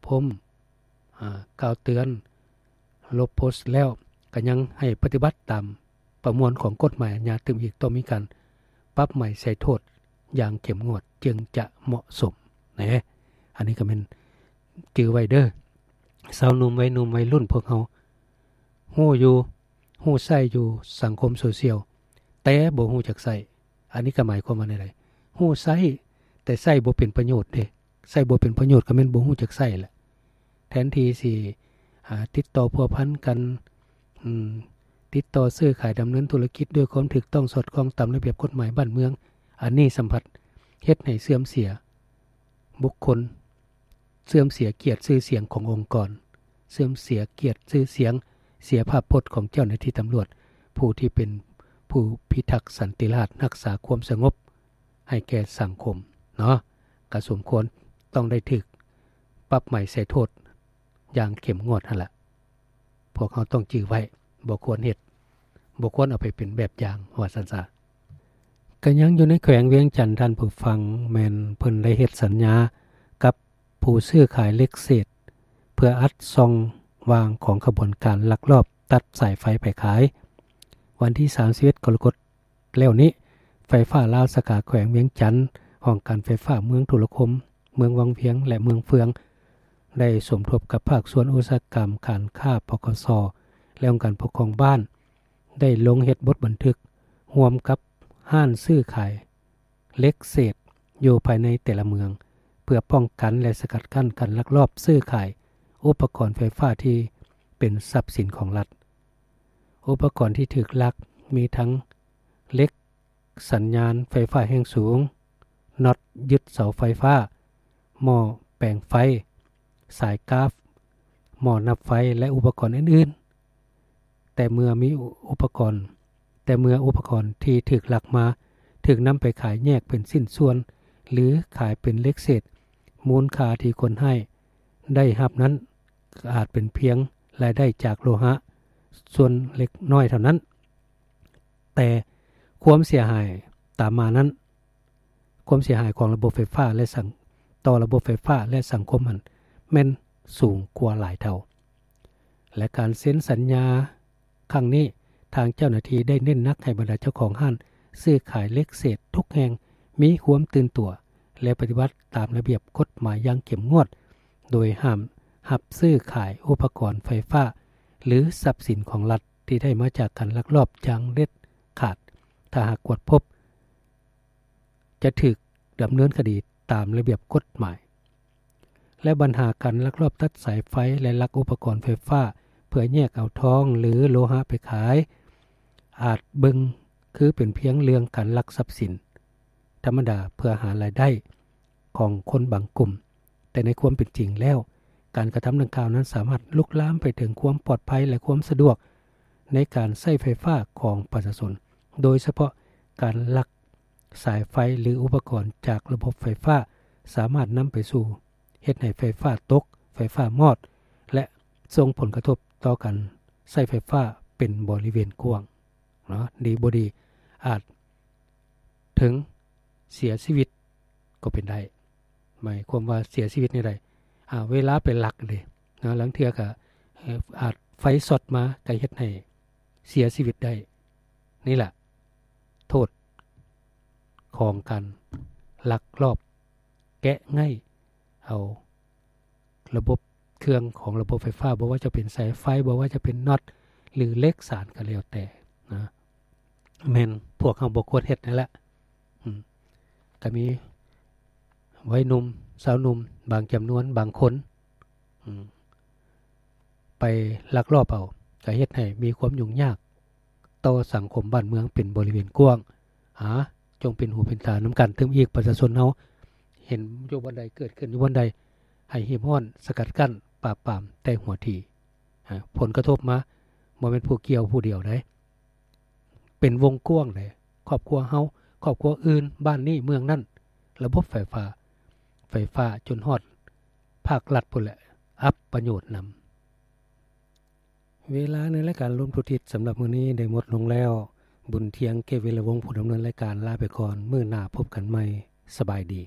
ພົມ ອາ ກ່າວເຕືອນ ລົບໂພສແລ້ວ ກໍຍັງໃຫ້ປະຕິບັດຕາມປະມວນຂອງກົດໝາຍອາຍາຕື່ມອີກ ຕ້ອງມີການປັບໃໝໃສ່ໂທດຢ່າງເຂັ້ມງວດ ຈຶ່ງຈະເໝາະສົມແນ. ອັນນີ້ກໍແມ່ນຈື່ໄວ້ເດີ ຊາວໜຸ່ມ ໄວໜຸ່ມ ໄວລຸ້ນ ພວກເຮົາຮູ້ຢູ່ ຮູ້ໃຊ້ຢູ່ສັງຄົມໂຊຊຽວ ແຕ່ບໍ່ຮູ້ຈັກໃຊ້. ອັນນີ້ກໍໝາຍຄວາມວ່າແນວໃດ? ຮູ້ໃຊ້ ແຕ່ໃຊ້ບໍ່ເປັນປະໂຫຍດເດ້. ໃຊ້ບໍ່ເປັນປະໂຫຍດກໍແມ່ນບໍ່ຮູ້ຈັກໃຊ້ແຫຼະ. ແທນທີ່ຊິ ອາ ຕິດຕໍ່ພົວພັນກັນ ອາ ຕິດຕໍ່ຊື້ຂາຍ ດຳເນີນທຸລະກິດດ້ວຍຄວາມຖືກຕ້ອງ ສອດຄ່ອງຕາມລະບຽບກົດໝາຍບ້ານເມືອງ, ອັນນີ້ສຳພັດເຮັດໃຫ້ເສື່ອມເສຍບຸກຄົນ, ເສື່ອມເສຍກຽດຊື່ສຽງຂອງອົງກອນ, ເສື່ອມເສຍກຽດຊື່ສຽງ, ເສຍພາບພົດຂອງເຈົ້າໜ້າທີ່ຕຳຫຼວດ ຜູ້ທີ່ເປັນຜູ້ພິທັກສັນຕິລາດ, ຮັກສາຄວາມສະຫງົບ ໃຫ້ແກ່ສັງຄົມເນາະ, ກໍສົມຄວນຕ້ອງໄດ້ຖືກປັບໃໝໃສ່ໂທດຢ່າງເຂັ້ມງວດຫັ້ນລະ. ພວກເຮົາຕ້ອງຈື່ໄວ້, ບໍ່ຄວນເຮັດ, ບໍ່ຄວນເອົາໄປເປັນແບບຢ່າງ, ວ່າຊັ້ນຊະ. ກໍຍັງຢູ່ໃນແຂວງວຽງຈັນ, ທ່ານຜູ້ຟັງ, ແມ່ນເພິ່ນໄດ້ເຮັດສັນຍາກັບຜູ້ຊື້ຂາຍເຫຼັກເສດ ເພື່ອອັດຊ່ອງວ່າງຂອງຂະບວນການລັກລອບຕັດສາຍໄຟໄປຂາຍ. ວັນທີສາມສິບເອັດ ກໍລະກົດ ແລ້ວນີ້, ໄຟຟ້າລາວສາຂາແຂວງວຽງຈັນ, ຫ້ອງການໄຟຟ້າເມືອງທຸລະຄົມ, ເມືອງວັງວຽງ ແລະ ເມືອງເຟືອງ ໄດ້ສົມທົບກັບພາກສ່ວນອຸດສາຫະກຳ, ການຄ້າ, ປກສ ແລະ ອົງການປົກຄອງບ້ານ ໄດ້ລົງເຮັດບົດບັນທຶກຮ່ວມກັບຮ້ານຊື້ຂາຍເຫຼັກເສດຢູ່ພາຍໃນແຕ່ລະເມືອງ ເພື່ອປ້ອງກັນ ແລະ ສະກັດກັ້ນການລັກລອບຊື້ຂາຍອຸປະກອນໄຟຟ້າທີ່ເປັນຊັບສິນຂອງລັດ. ອຸປະກອນທີ່ຖືກລັກມີທັງເຫຼັກສັນຍານໄຟຟ້າແຮງສູງ, ນັອດຍຶດເສົາໄຟຟ້າ, ໝໍ້ແປງໄຟ, ສາຍກາຟ, ໝໍ້ນັບໄຟ ແລະ ອຸປະກອນອື່ນໆ. ແຕ່ເມື່ອມີອຸປະກອນ, ແຕ່ເມື່ອອຸປະກອນທີ່ຖືກລັກມາ ຖືກນຳໄປຂາຍແຍກເປັນຊິ້ນສ່ວນ ຫຼື ຂາຍເປັນເຫຼັກເສດ, ມູນຄ່າທີ່ຄົນຮ້າຍໄດ້ຮັບນັ້ນ ອາດເປັນພຽງລາຍໄດ້ຈາກໂລຫະສ່ວນເລັກນ້ອຍເທົ່ານັ້ນ, ແຕ່ຄວາມເສຍຫາຍຕາມມານັ້ນ, ຄວາມເສຍຫາຍຂອງລະບົບໄຟຟ້າ ແລະ ສັງ, ຕໍ່ລະບົບໄຟຟ້າ ແລະ ສັງຄົມນັ້ນ ແມ່ນສູງກວ່າຫຼາຍເທົ່າ. ແລະ ການເຊັນສັນຍາ ຄັ້ງນີ້, ທາງເຈົ້າໜ້າທີ່ໄດ້ເນັ້ນໜັກໃຫ້ບັນດາເຈົ້າຂອງຮ້ານຊື້ຂາຍເຫຼັກເສດທຸກແຫ່ງມີຄວາມຕື່ນຕົວ ແລະ ປະຕິບັດຕາມລະບຽບກົດໝາຍຢ່າງເຂັ້ມງວດ, ໂດຍຫ້າມຮັບຊື້ຂາຍອຸປະກອນໄຟຟ້າ ຫຼື ຊັບສິນຂອງລັດທີ່ໄດ້ມາຈາກການລັກລອບຢ່າງເດັດຂາດ. ຖ້າຫາກກວດພົບ, ຈະຖືກດຳເນີນຄະດີຕາມລະບຽບກົດໝາຍ. ແລະ ບັນຫາການລັກລອບຕັດສາຍໄຟ ແລະ ລັກອຸປະກອນໄຟຟ້າເພື່ອແຍກເອົາທອງ ຫຼື ໂລຫະໄປຂາຍ ອາດເບິ່ງຄືເປັນພຽງເລື່ອງການລັກຊັບສິນທຳມະດາເພື່ອຫາລາຍໄດ້ຂອງຄົນບາງກຸ່ມ, ແຕ່ໃນຄວາມເປັນຈິງແລ້ວ, ການກະທຳດັ່ງກ່າວນັ້ນສາມາດລຸກລາມໄປເຖິງຄວາມປອດໄພ ແລະ ຄວາມສະດວກໃນການໃຊ້ໄຟຟ້າຂອງປະຊາຊົນ, ໂດຍສະເພາະການລັກ ສາຍໄຟ ຫຼື ອຸປະກອນຈາກລະບົບໄຟຟ້າ ສາມາດນຳໄປສູ່ເຮັດໃຫ້ໄຟຟ້າຕົກ, ໄຟຟ້າມອດ ແລະ ສົ່ງຜົນກະທົບຕໍ່ການໃຊ້ໄຟຟ້າເປັນບໍລິເວນກວ້າງເນາະ, ດີບໍ່ດີ ອາດເຖິງເສຍຊີວິດກໍເປັນໄດ້. ໝາຍຄວາມວ່າເສຍຊີວິດແນວໃດ? ອາ, ເວລາໄປລັກເດ້ເນາະ, ລາງເທື່ອກໍ, ເອີ, ອາດໄຟຊັອດມາ ກໍເຮັດໃຫ້ເສຍຊີວິດໄດ້. ນີ້ລະ ໂທດຂອງການລັກລອບແກະໄງ່ເອົາລະບົບເຄື່ອງຂອງລະບົບໄຟຟ້າ, ບໍ່ວ່າຈະເປັນສາຍໄຟ, ບໍ່ວ່າຈະເປັນນັອດ ຫຼື ເຫຼັກສານກໍແລ້ວແຕ່ນະ, ແມ່ນພວກເຮົາບໍ່ຄວນເຮັດນັ້ນແຫຼະ. ອືມ ກໍມີໄວໜຸ່ມ, ຊາວໜຸ່ມ ບາງຈຳນວນ, ບາງຄົນ, ອືມ ໄປລັກລອບເອົາ, ກໍເຮັດໃຫ້ມີຄວາມຫຍຸ້ງຍາກຕໍ່ສັງຄົມບ້ານເມືອງເປັນບໍລິເວນກວ້າງ. ຫາ ຈົ່ງເປັນຫູເປັນຕານຳກັນຕື່ມອີກ, ປະຊາຊົນເຮົາເຫັນຢູ່ບ່ອນໃດ, ເກີດຂຶ້ນຢູ່ບ່ອນໃດ, ໃຫ້ຮີບຮ້ອນສະກັດກັ້ນ, ປາບປາມແຕ່ຫົວທີ. ຫາ ຜົນກະທົບມາ ບໍ່ແມ່ນຜູ້ກ່ຽວຜູ້ດຽວໃດ, ເປັນວົງກວ້າງໃດ, ຄອບຄົວເຮົາ, ຄອບຄົວອື່ນ, ບ້ານນີ້, ເມືອງນັ້ນ, ລະບົບໄຟຟ້າ, ໄຟຟ້າຈົນຮອດພາກລັດພຸ້ນແຫຼະ, ອັບປະໂຫຍດນຳ. ເວລາໃນລາຍການລົມທຸກທິດສຳລັບມື້ນີ້ໄດ້ໝົດລົງແລ້ວ. ບຸນທຽງ ເກດວິລະວົງ ຜູ້ດຳເນີນລາຍການ ລາໄປກ່ອນ. ມື້ໜ້າພົບກັນໃໝ່. ສະບາຍດີ.